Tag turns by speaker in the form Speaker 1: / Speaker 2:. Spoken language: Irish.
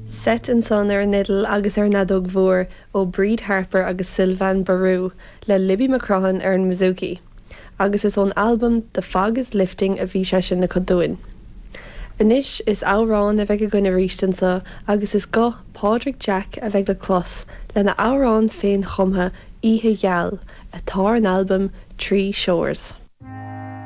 Speaker 1: Seit ansan ar an fhidil agus ar an fheadóg mhór ó Bríd Harper agus Sylvain Barou le Libby McCrohan ar an mbouzouki. Agus is ón albam The Fog is Lifting a bhí sé sin acu dúinn. Anois is amhrán a bheidh againn arís anso agus is guth Pádraig Jack a bheidh le clos lena amhrán féin-chumtha Oíche Gheal atá ar an albam Tree Shores.